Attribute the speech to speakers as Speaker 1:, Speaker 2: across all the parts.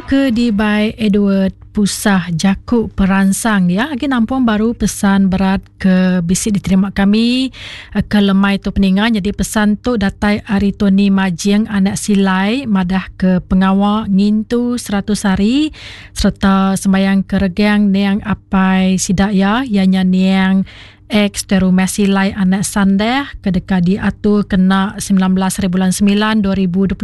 Speaker 1: Ke dibai Edward Pusah jaku peransang iya agi nampung baru pesan berat ke bisi diterima kami ke lemai tu peninga nyadi pesan tu datai ari Tony Majing anak Silai madah ke pengawa ngintu 100 hari sereta sembayang ke regang niang apai sida iya iya nya niang Ex Terumah Silai Anak Sandeh ke deka diatur kena 19 hari bulan 9 2026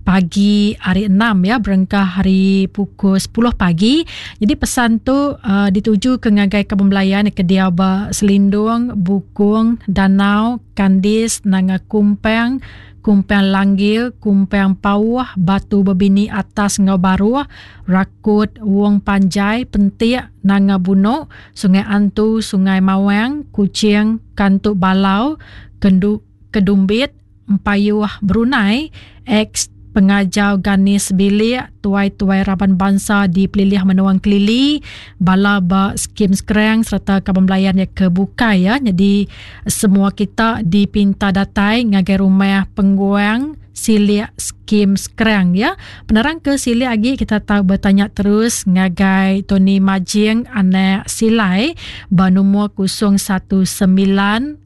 Speaker 1: pagi hari 6 ya berengkah hari pukul 10 pagi. Jadi pesan tu uh, dituju ke ngagai kaban belayan ke diau ba Selindung, Bukung, Danau, Kandis, Nanga Kumpang, Kumpang Langgil, Kumpang Pauh, Batu Bebini Atas enggau Baruh, Rakut, Wong Panjai, Pentik, Nanga Bunok, Sungai Antu, Sungai Mawang, Kuching, Kantu Balau, Kendu, Kedumbit, Empayuh, Brunei, ex Pengajar Ganis Bilik, tuai-tuai raban bansa di pelilih menua Engkelili, bala ba Skim Skrang sereta kaban belayan iya ke bukai ya. Nyadi semua kita dipinta datai ngagai rumah Pengguang Silik Skim Skrang ya. Penerang ke silik agi kita tau betanya terus ngagai Tony Majing anak Silai ba numur 019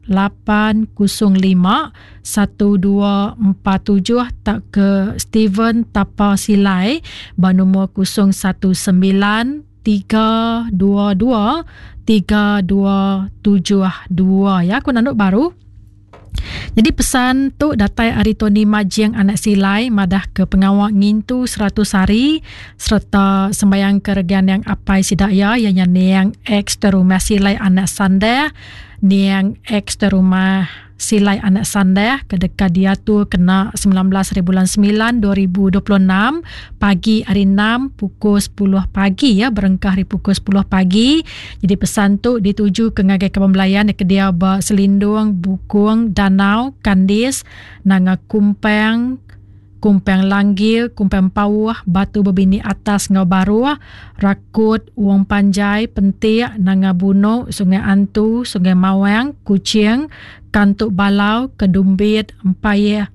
Speaker 1: 805 1247 tauka Steven Tapa Silai ba numur 019 322 3272 ya. Aku nandu baru. Nyadi pesan tu datai ari Tony Majing anak Silai madah ke pengawa ngintu 100 hari sereta sembayang ke regan niang apai sida iya iya nya niang ex Terumah Silai anak Sandeh niang ex Terumah Silai anak Sandeh ke deka diatur kena 19 hari bulan 9 2026 pagi hari 6 pukul 10 pagi ya berengkah hari pukul 10 pagi. Jadi pesan tu dituju ke ngagai kaban belayan ke diau ba Selindung, Bukung, Danau, Kandis, Nanga Kumpang, Kumpang Langgil, Kumpang Pauh, Batu Bebini Atas enggau Baruh, Rakut, Wong Panjai, Pentik, Nanga Bunok, Sungai Antu, Sungai Mawang, Kuching, Kantuk Balau, Kedumbit, Empayeh,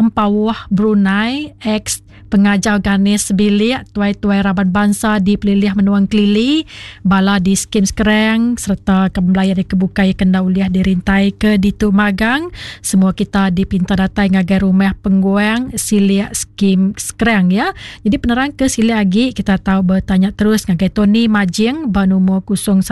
Speaker 1: Empauh, Brunei, ex Pengajar Ganis Sebilik, tuai-tuai raban bansa di pelilih menua Engkelili, bala di Skim Skrang sereta ke belayan ke bukai ke enda ulih dirintaika ditu magang. Semua kita dipinta datai ngagai rumah Pengguang Silik Skim Skrang ya. Jadi penerang ke silik agi kita tau betanya terus ngagai Tony Majing ba numur 019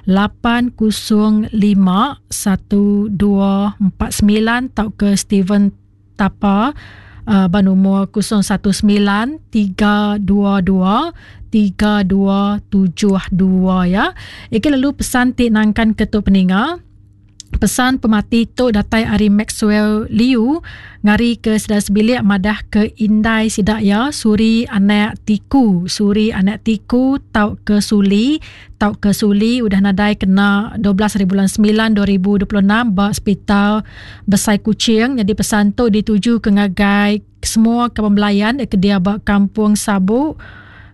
Speaker 1: 805 1249 tauka Steven Tapa uh, ba numur 019 322 3272 ya. Iki lalu pesan ti nangkan ke tu peninga. Pesan pemati tu datai ari Maxwell Liu ngari ke sida sebilik madah ke indai sida iya Suri anak Tiku. Suri anak Tiku tauka Suli tauka Suli udah nadai kena 12 hari bulan 9 2026 ba Sepital Besai Kuching. Nyadi pesan tu dituju ke ngagai semua kaban belayan ke dia ba Kampung Sabu,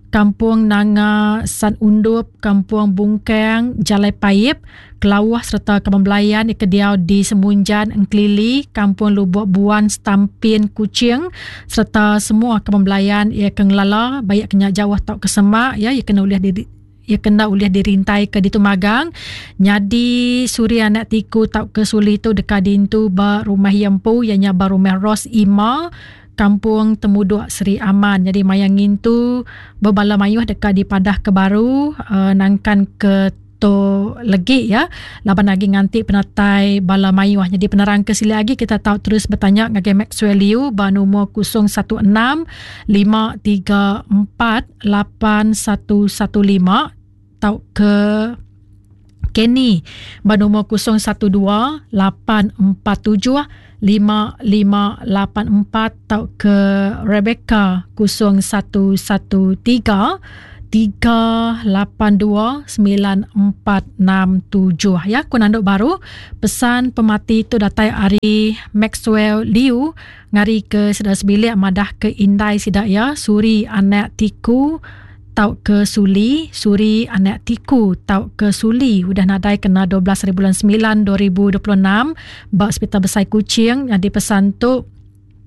Speaker 1: Kampung Nanga San Undup, Kampung Bungkang, Jalai Paip, Kelauh sereta kaban belayan ke diau di Semunjan, Engkelili, Kampung Lubok Buan, Stampin, Kuching sereta semua kaban belayan iya ke ngelala baik ke nya jauh tauka semak iya iya kena ulih di iya ke enda ulih dirintai ke ditu magang. Nyadi Suri anak Tiku tauka Suli tu deka diintu ba rumah iya empu iya nya ba rumah Rose Ima, Kampung Temudok Sri Aman. Nyadi maya ngintu bebala mayuh deka dipadah ke baru uh, nangkan ke tu legi ya laban agi nganti penatai bala mayuh. Nyadi penerang ke silik agi kita tau terus betanya ngagai Maxwell Liu ba nomor 016 534 8115 tauka Kenny ba nomor 012 847 5584 tauka Rebecca 0113 382 9467 ya ku nandu baru pesan pemati tu datai ari Maxwell Liu ngari ke sida sebilik madah ke indai sida iya Suri anak Tiku tauka Suli, Suri anak Tiku tauka Suli udah nadai kena 12 hari bulan 9 2026 ba Sepital Besai Kuching. Nyadi pesan tu.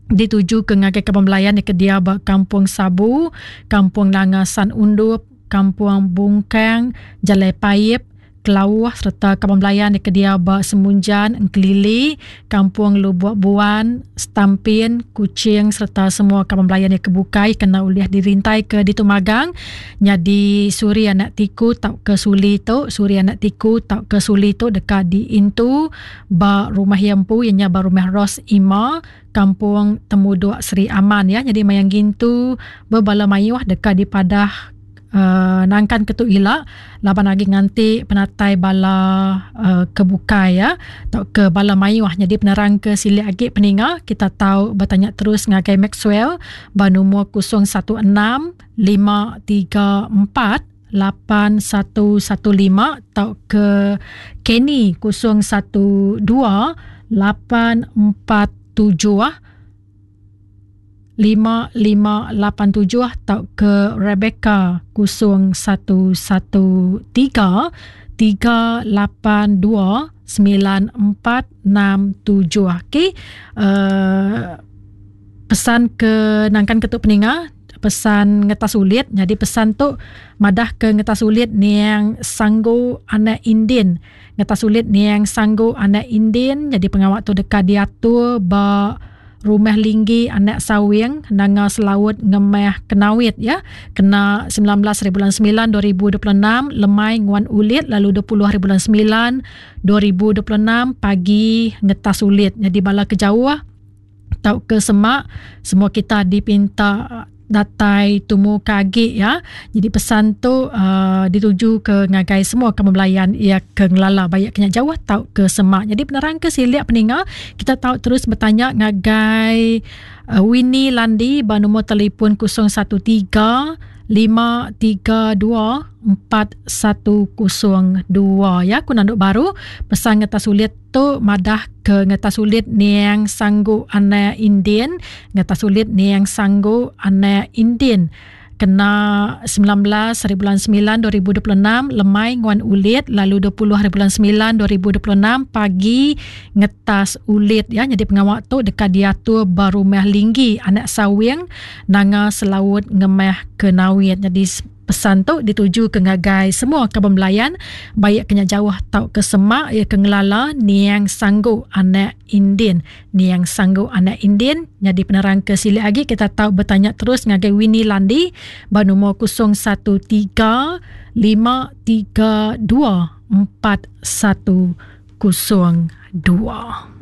Speaker 1: Dituju ke ngagai kaban belayan ke diau ba Kampung Sabu, Kampung Nanga San Undup, Kampung Bungkang, Jalai Paip, Kelauh sereta kaban belayan ke diau ba Semunjan, Engkelili, Kampung Lubok Buan, Stampin, Kuching sereta semua kaban belayan ke bukai kena ulih dirintai ke ditu magang nyadi suri anak tiku tauka suli tu suri anak tiku tauka suli tu deka diintu ba rumah iya empu iya nya ba Rumah Rose Ima, Kampung Temudok Sri Aman ya. Nyadi maya ngintu bebala mayuh deka dipadah uh, nangkan ke tu ila laban agi nganti penatai bala uh, ke bukai ya tauka bala mayuh. Nyadi penerang ke silik agi peninga kita tau betanya terus ngagai Maxwell ba nombor 016 534 8115 tauka Kenny 012 847 5587 tauka Rebecca 0113 382 9467. Okey. Pesan ke nangkan ke tu peninga pesan ngetas ulit nyadi pesan tu madah ke ngetas ulit niang Sanggu anak Indin. Ngetas ulit niang Sanggu anak Indin nyadi pengawa tu deka diatur ba Rumah Linggi anak Sawing Nanga Selaut Ngemah Kenawit ya kena 19 hari bulan 9 2026 lemai nguan ulit lalu 20 hari bulan 9 2026 pagi ngetas ulit. Nyadi bala ke jauh tauka semak semua kita dipinta datai tumu ke agi ya. Jadi pesan tu uh, dituju ke ngagai semua kamu belayan ia ke ngelala bayak kena jauh tau ke semak. Jadi penerang ke silik peninga kita tau terus bertanya ngagai uh, Winnie Landi ba nombor telefon 013 532 4102 ya. Aku nanduk baru pesan ngetas ulit tu madah ke ngetas ulit niang sanggu anak Indian ngetas ulit niang sanggu anak Indian kena 19 hari bulan 9 2026 lemai nguan ulit lalu 20 hari bulan 9 2026 pagi ngetas ulit ya. Jadi pengawa tu dekat diatur ba rumah Linggi anak Sawing Nanga Selaut Ngemah Kenawit. Jadi pesan tu dituju ke ngagai semua kaban belayan baik kena jauh tau ke semak ia ke ngelala niang sanggu anak Indin. Niang sanggu anak Indin. Jadi penerang ke silik lagi kita tau bertanya terus ngagai Winnie Landi ba nombor 013 532 4102.